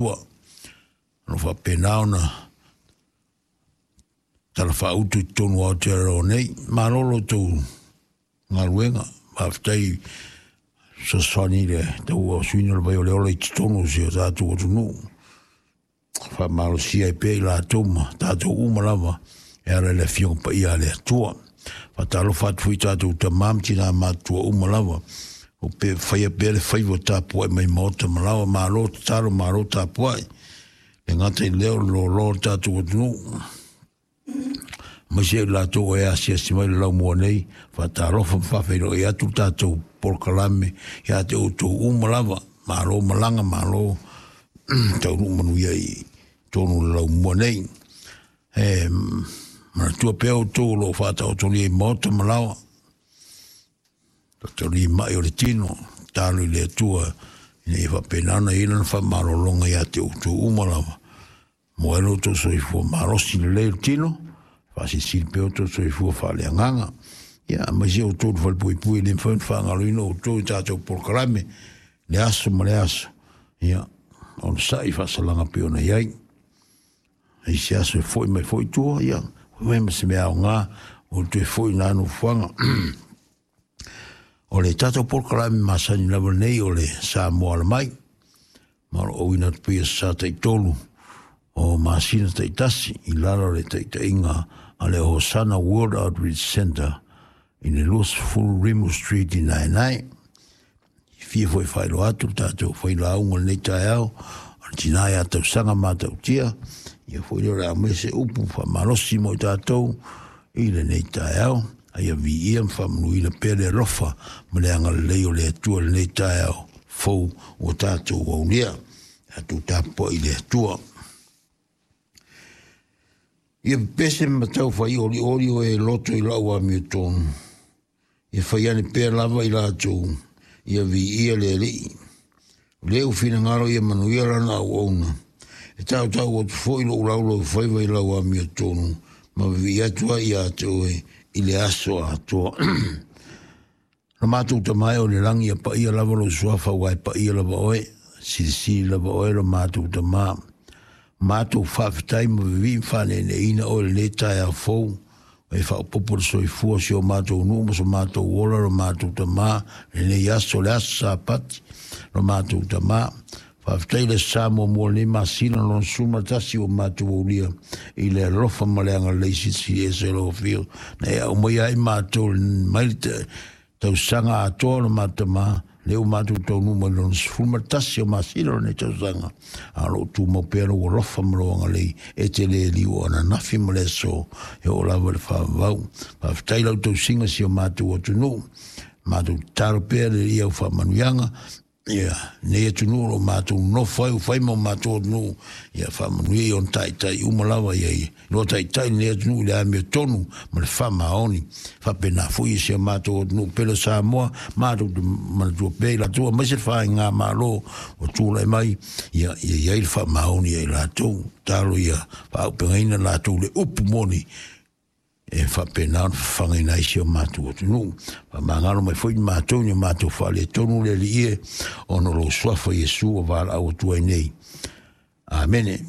Atua. O lo o faapena ona talafaauto i totonu o Aotearoa nei. Malo lo outou galuega. Faafetai fesoasoani i le tauasuina o le vai o le ola i totonu o si o tatou atunuu. Faamalosia ai pea i latou ma tatou uma lava e ala i le Afioga Paia a le Atua. Faatalofa atu foi i tatou tama ma tina matutua uma lava o pe faia pea le faiva tapuai mai maota ma laoa. Malo tatalo, malo tapuai. Le gata i lea o le loaloa o le tatou atunuu, aemaise i latou e asiasi mai le laumua nei. Faatalofa ma faafeiloai atu le tatou polokalame ia te outou uma lava. Malo malaga, malo taunuu manuia i totonu o le laumua nei. E manatua pea outou o lo o faataotolia i maota ma laoa, taotolia mai o le tino, talo i le Atua ina ia faapena ona i ai lana faamalologa ia te outou uma lava. Mo ai lo outou soifua malosi lelei o le tino, faasilisili pea outou soifua faaleagaga. Ia, aemaise outou le falepuipui, e le mafai ona faagaloina outou i tatou polokalame, le aso ma le aso. Ia, onosai faasalaga pei ona i ai. I se aso e foi mai foi tua, ia, foi mai ma se mea aoga, o toe foi nā nofoaga. O le tatou polokalame masani lava nei o le Samoa Alamai, ma o lo o auina atu pea sa taitolu o masina taitasi i lalo o le taitaiga a le Hosana World Outreach Center i le 20 Rimu Street i Naenae. I fia foi faailoa atu le tatou failauga o lenei taeao, o le tina ia Tausaga Matautia, ia foi lea o le a aumai se upu faamalosi mo i tatou i lenei taeao. A ia viia ma faamanuina pea le alofa ma le agalelei o le Atua i lenei taeao fou ua tatou aulia. Tatou tapuai i le Atua. Ia pepese ma tau fai olioli o e loto i lau amiotonu. Ia fai ane pea lava i latou, ia viia le Alii. O lea ua finagalo ia manuia lana auauna. E tautau atu foi lou laulaufaiva i lau amiotonu, ma vivii atu ai ia te oe i le aso atoa. Lo matou Tama e o le lagi, ia paia lava lou suafa, aua e paia lava oe, silisili lava oe lo matou Tama. Matou faafetai ma vivii ma faaneeneeina oe lenei taeao fou, e faaopoopo le soifua o si o matou nuu ma so matou ola, lo matou Tama, lenei aso, le aso Sapati, lo matou Tama. Faafetai le sa muamua lenei masina lona 11 ua matou aulia i le alofa ma le agalelei silisili ese o lau afio na e aumaia ai matou mai le tausaga atoa o matou Tama, lea ua matou taunuu mai lona 11 o masina o lenei tausaga, a o loo tumau pea lou alofa ma lou agalelei e te le liu o ananafi ma le aso e oo lava i le faavavau. Faafetai lau tausiga si o matou atunuu, matou tatalo pea le ia au faamanuiaga ia nei atunuu o lo o matou nonofo ai, ua fai ma o matou atunuu, ia faamanuia i ona taitai uma lava, ia i loa taitai lenei atunuu i le amiotonu ma le faamaoni. Faapena foi i si o matou atunuu pele o Samoa, matou te manatua pea i latou, aemaise le faigamalo ua tulai mai, ia ia i ai le faamaoni ia i latou. Tatalo ia faaaupegaina latou le upu moni e faapena ona fafagaina ai si o matou atunuu. Faamagalo mai foi matou i o matou faaletonu le Alii e, ona o lou suafa Iesu ua valaau atu ai nei. Amene.